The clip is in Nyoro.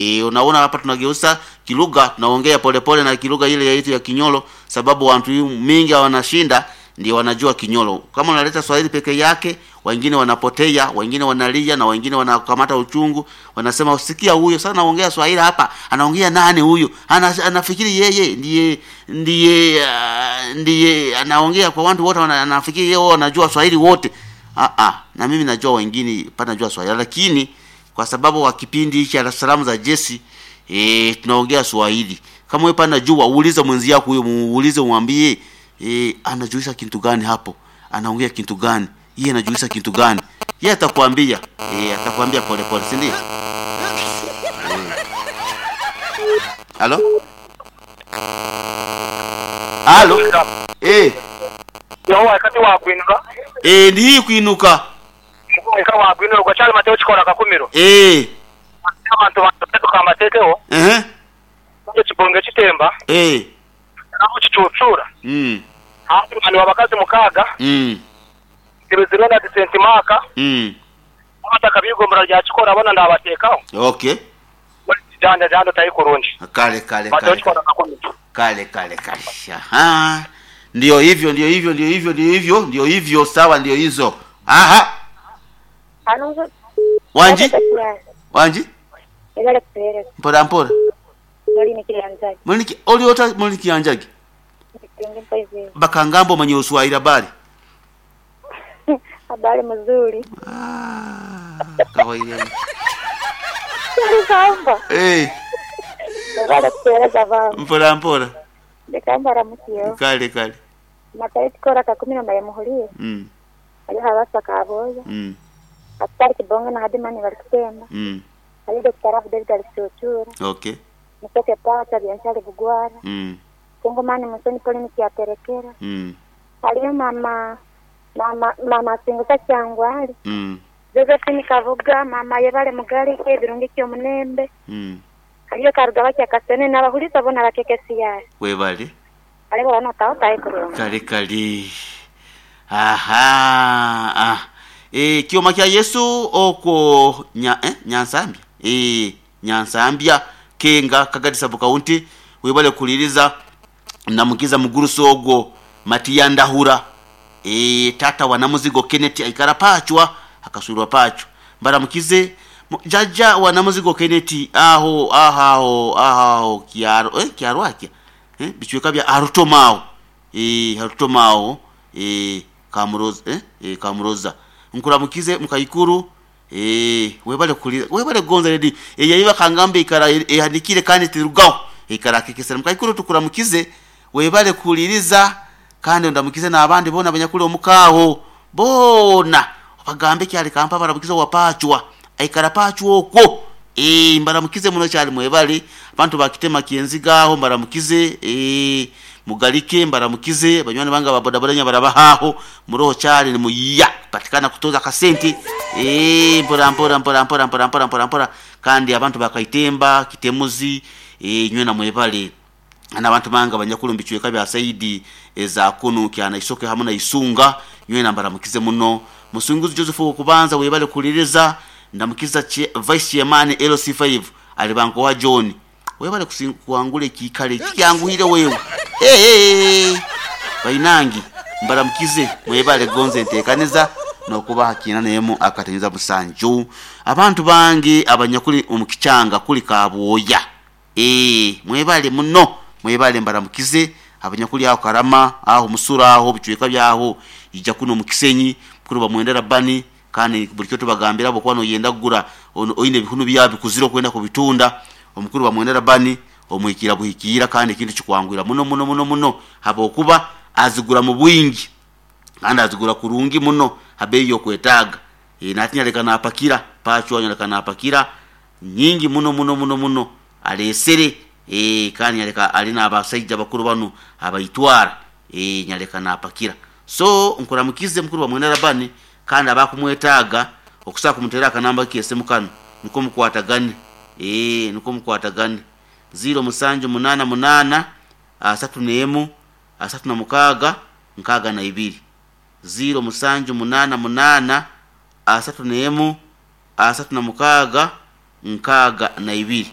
Unaona hapa tunageuza kilugha, tunaongea polepole na kilugha ile yetu ya Kinyolo, sababu watu mingi wanashinda ndio wanajua Kinyolo. Kama unaleta Swahili peke yake, wengine wanapotea, wengine wanalia na wengine wanakamata uchungu, wanasema usikia huyo sana anaongea Swahili hapa, anaongea nani huyo? Anafikiri yeye ndiye ndiye ndiye anaongea kwa watu wote, anafikiri yeye wanajua Swahili wote. Ah ah, na mimi najua wengine panajua Swahili, lakini kwa sababu wa kipindi hichi cha salamu za Jesse tunaongea Swahili. Kama wewe pana jua, uulize mwenzi yako huyo, muulize umwambie anajuisha kitu gani hapo, anaongea kitu gani, yeye anajuisha kitu gani, yeye atakwambia. Atakwambia pole pole, si ndio? Halo, halo, Yawa wakati wa kwinuka ndi kwinuka eka wa kwinuka chali mateo chikora kakumiro abantu bantu amatekeho kibonge kitemba naho kicucura hafi mani wabakazi mukaga kibizirona disentimaka abataka bigombora rya chikora bona ndabatekaho. Okay. Janja janja tayi kurungi. Kale kale mateo kale chikora kakumiro. Kale kale kale. Aha. Ndio hivyo, ndio hivyo, ndio hivyo, ndio hivyo, ndio hivyo, sawa, ndio hizo. Aha. Anunzo Wanji? Wanji? Ebale kupereza Mpora mpora. oli nikiyanzaje Muliki oli ota muliki yanjagi. nikienge mpoizi Bakangambo mwenye uswahili habari. habari mzuri Ah, kawaida. kamba Ebale kupereza vama Mpora mpora. ndikamba ramukiyo Kale kale. matayi tikora kakumi na maya muhulie ali habasa kaboya atari kibonge na hadimani bali kutemba ali Dr. Rafu David alichuchura Okay. musoke pacha byanshali bugwara kungumani musoni poli nikiyaterekera aliyo mama mama mama singusa kyangwali Josephine Kavuga mama yebale mugalike ebirungi kyomunembe aliyo karuga bakyakasene n'abahuliza bona bakekesiyari Webale. alibo bano taotaye kurungi Kale kale. Aha. Ah. Kioma kya Yesu oko nya, Nyansambya. Nyansambya Kenga Kagadi sub county webale kuliriza namukiza muguruso ogwo Matiya Ndahura. Tata wa Namuzigo Kenneth aikara pachwa akasurwa pachwa. Mbaramukize jaja wa Namuzigo Kenneth aho aho aho kiaro kiaro akya bichweka bya arutomao harutomao kamuroza kamuroza nkuramukize mukayikuru webale kuli webale gonza redi yayiba kangambe ikara ehandikire kandi tirugaho ikara kekesera mukayikuru tukuramukize webale kuliriza kandi ndamukize n'abandi bona abanyakuli omukaho bona bagambe kyali kampa baramukize wapachwa aikara pachwa okwo mbaramukize muno kyali mwebale abantu bakitema kienzigaho mbaramukize mugalike mbaramukize banywani banga babodaboda nya barabahaho muroho kyali ni muyiya patikana kutoza kasente mpora mpora mpora mpora mpora mpora mpora mpora kandi abantu bakaitemba kitemuzi nywe na mwebale n'abantu banga abanyakulu mbichweka bya Saidi eza kunu kyana isoke hamwe na isunga nywe na mbaramukize muno musunguzi Joseph kubanza webale kuliriza ndamukiza vice chairman LC5 alibanko wa John webale kuangule kikale kyanguhire wewe bainangi mbaramukize mwebale gonze ntekaniza nokuba hakina nemo akatenza musanju abantu bangi abanyakuli omukichanga kuli kabwoya mwebale muno mwebale mbaramukize abanyakuli aho karama aho musura aho bichweka byaho ija kuno mukisenyi kuri bamwendera bani kandi buli kyo tubagambira bo kwano yenda kugura oine bihunu byabi kuzira kwenda kubitunda omukuru bamwendera bani omwikira buhikira kandi kintu kikwangwira muno muno muno muno habokuba azigura mu bwingi kandi azigura kurungi muno habeyi yokwetaga natinya leka napakira pachwa leka napakira nyingi muno muno muno muno alesere kandi nyaleka alina abasajja bakuru bano abayitwara nyaleka napakira so nkuramukize mukuru bamwendera bani kandi abakumwetaaga okusobola kumutera akanamba kese mukano niko mukwatagane niko mukwatagane 0788 31 36 62 0788 31 36 62.